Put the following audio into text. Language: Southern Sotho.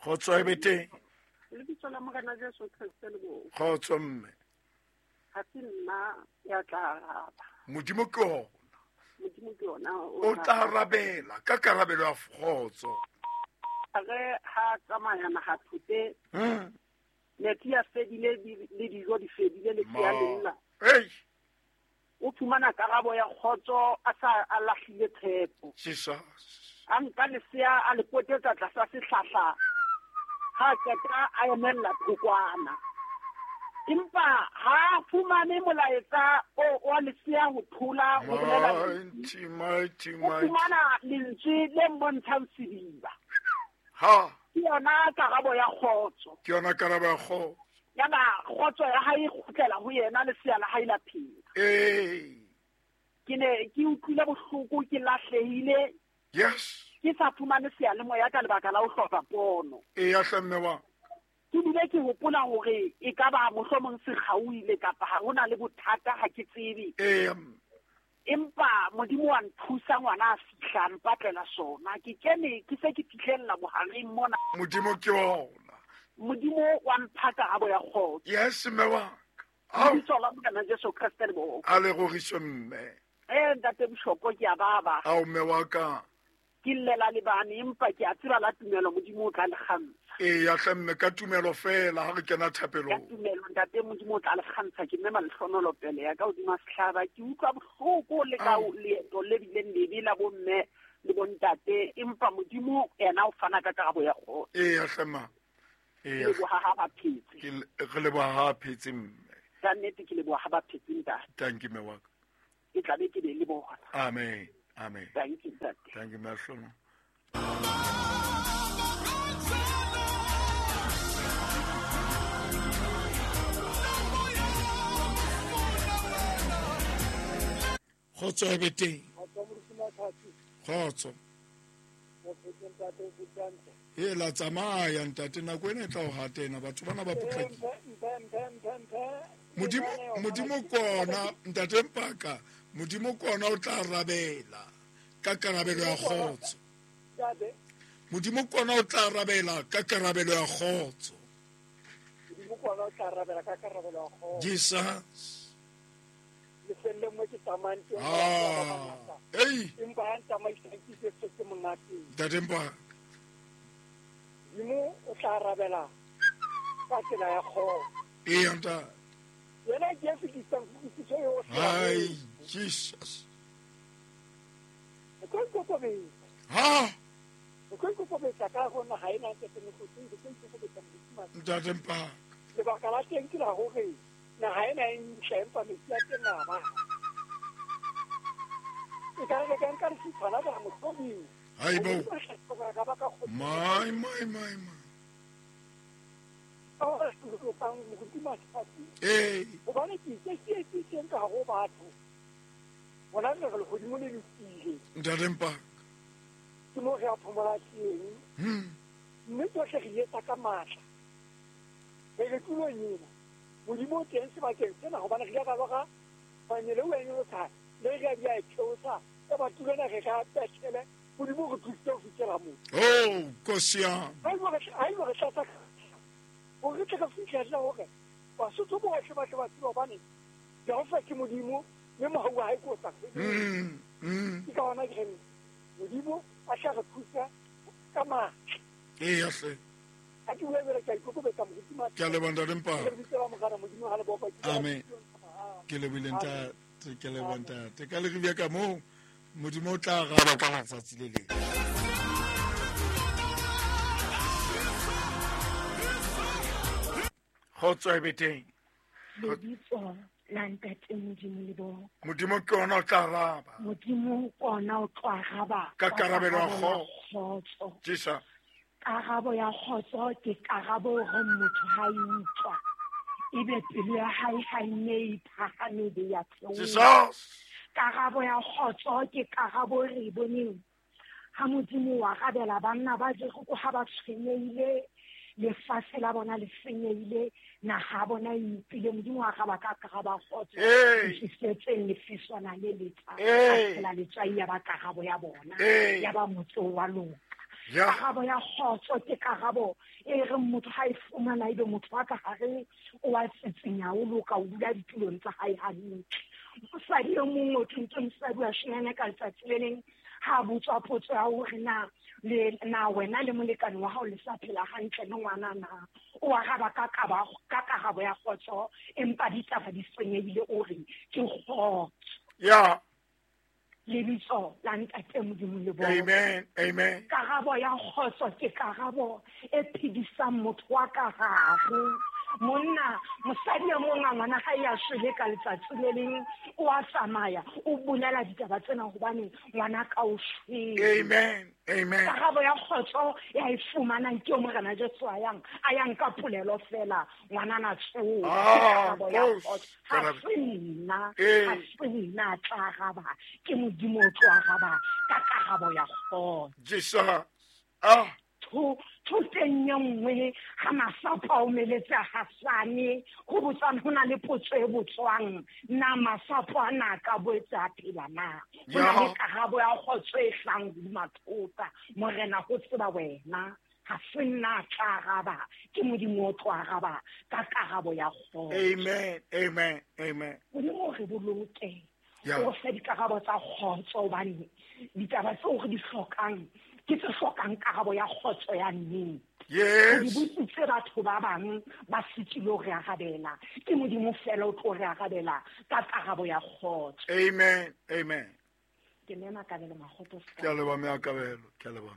Kgotso e be teng. Lebitso la Morena Jesu Kriste le bo. Kgotso mme. Ha se nna ya tla araba. Modimo ke ona. Modimo ke ona o tla arabela ka karabelo ya kgotso. Re ha tsamaya naha thote. Metsi a fedile le dijo di fedile le ya lella. Hey. O fumana karabo ya kgotso a sa a lahlile tshepo. Jesus. A nka lesea a le potetsa tlasa sehlahla. Ha qeta a emella thokwana. Empa ha fumane molaetsa o wa lesea ho thola ho bolela Mighty, mighty, o mighty. fumana lentswe le mmontshang sediba. Ha, Ke yona karabo ya kgotso. ke yona karabo ya kgotso. Ya ba kgotso ya hae e kgutlela ho yena lesea la hae la phela. Ee. Ke ne ke utlwile bohloko, ke lahlehile, Yes. ke sa fumane seyalemoya ka lebaka la ho hloka pono. Eya hle mme wa. Ke bile ke hopola hore e ka ba mohlomong se kgaohile kapa ha hona le bothata, ha ke tsebe. Eya mme. Empa Modimo wa nthusa, ngwana a fihla a mpatlela sona. Ke kene ke se ke fihlella bohareng mona. Modimo ke ona. Modimo wa mpha karabo ya kgotso. Yes mme wa ka. Ao. Lebitso la Morena Jesu Kriste le boko. A le roriswe mme. Ntate Bishop, ke a baba. Ao mme wa ka. Ke llela le bane, empa ke a tseba la tumelo Modimo o tla le kgantsha. Eya hle mme, ka tumelo fela ha re kena thapelong. Ka tumelo ntate Modimo o tla le kgantsha. Ke mme malehlohonolo pele ya ka hodima sehlaba. Ke utlwa bohloko le ka leeto le bileng lebe la bomme le bontate, empa Modimo yena o fana ka karabo ya kgotso. Eya hle ma. Eya. Ke leboha ha ba phetse. Ke re leboha ha phetse mme. Ka nnete ke leboha ha ba phetse ntate. Thank you mme wa ka. Ke tla be ke be le bona. Amen. Amen. Thank you, ntate. Thank you, Mahlona. Kgotso e be teng. Kgotso. E la tsamaya ntate, nako ena e tla o hatena, batho bana ba potlakile. Modimo, Modimo kona ntate Mpaka, Modimo kona o tla arabela ka karabelo ya kgotso. Modimo kona o tla arabela ka karabelo ya kgotso. Modimo kona o tla arabela ka karabelo ya kgotso. Jesus. Lefelleng mo ke tsamayang teng, Ah, ei. Empa ha ntsamaisang ke Jesu ke monate. Ntate Mpaka. Modimo o tla arabela ka tsela ya kgotso. Eya ntate. Yena Jesu ke isang kutlwisiso yohle. Ai, Jesus. O tlo ikokobetsa. Ha? O tlo ikokobetsa ka ho naha ena ntate Mokgotsi, o tlo ikokobetsa Modimo. Ntate Mpaka. Lebaka la teng ke la hore naha ena e ntle, empa metsi a teng a ba. E ka re ka nka lefutshwana la mohlomong. Hai bo. Ka ba ka kgotso. My, my, my, my. Ka hore re lokang Modimo a tsatsi. Ee. Hobane ke itse ke etsitseng ka ho batho. Bona re re lehodimo le lokile. Ntate Mpaka. Ke mo re a phomola teng. Mme tsohle re etsa ka matla. Re re tulong ena. Modimo o teng sebakeng sena hobane re ile ra lora manyele o nyolosa, le re a di a theosa. E ba tulo ena re ka Bethele. Modimo o re thusitse ho fihlela moo. Oh, Nkosi ya. Ha eba re tla, ha eba re tlatsa ka hore re tle re fihlelle hore Basotho bohle ba tle ba tsebe hobane Jehova ke Modimo mme mohau wa hae ke o sa feleng. Ke ka hona ke reng Modimo a tla re thusa ka matla. Eya hle. Ha ke bua jwale ke a ikokobetsa moruti Mathe. Ke a leboha ntate Mpaka. Ke lebitso la Morena Modimo ha le bopa ke Amen. Ke lebohile ntate, ke leboha ntate. Ka le re ka moo Modimo o tla araba ka letsatsi le leng. Kgotso e be teng. Lebitso la ntate Modimo le bo. Modimo ke ona o tla araba. Modimo ke ona o tla araba ka karabelo ya kgotso. Jesus. Karabo ya kgotso ke karabo hore motho ha e utlwa, ebe pelo ya hae ha e ne e phahame be ya theoha. Jesus. Karabo ya kgotso ke karabo e re e boneng ha Modimo wa arabela banna ba Jeriko ha ba tshwenyehile, lefatshe la bona le senyehile, naha ya bona e ipile. Modimo wa araba ka karabo ya kgotso. Tlisetseng lefiswana le letjha, a tshela letswai ya ba karabo ya bona, ya ba motse wa loka. Karabo ya kgotso ke karabo e reng motho ha e fumana ebe motho wa ka hare o a tsitsinya, o loka, o dula ditulong tsa hae hantle. Mosadi e mong o thweng ke mosadi wa Shinane ka letsatsi le leng ha botswa potso ya hore na le na wena le molekane wa hao le sa phela hantle le ngwana na, o araba ka karabo ya kgotso, empa ditaba di senyehile, o re ke kgotso. Ya. Lebitso la Ntate Modimo le bona. Amen, amen. Karabo ya kgotso ke karabo e phedisang motho wa ka hare. Monna, mosadi e mong a ngwana hae a shwele ka letsatsi le leng, o a tsamaya, o bolela ditaba tsena hobane ngwana ka o shwele. Amen, amen. Karabo ya kgotso ya e fumanang ke Morena Jesu a yang ka polelo fela, ngwana na tsoha. Karabo ya kgotso. Ha se nna tla araba, ke Modimo o tlo araba ka karabo ya kgotso. Jesus. Ah. Thoteng e nngwe ha masapo a omeletse a hasane, ho botswang ho na le potso e botswang, na masapo a na ka boetse a phela na? Ho na le karabo ya kgotso e hlang hodima thota. Morena ho tseba wena, ha se nna tla araba, ke Modimo o tlo araba ka karabo ya kgotso. Amen, amen, amen. Modimo re boloke, o fe dikarabo tsa kgotso, hobane ditaba tseo re di hlokang ke tse hlokang karabo ya kgotso ya nnete. Yes. Di botsitse batho ba bang ba sitilwe ho re arabela, ke Modimo fela o tlo re arabela ka karabo ya kgotso. Amen, amen. Ke mema Kabelo Makgoto. Ke a leboha mme Kabelo, ke a leboha.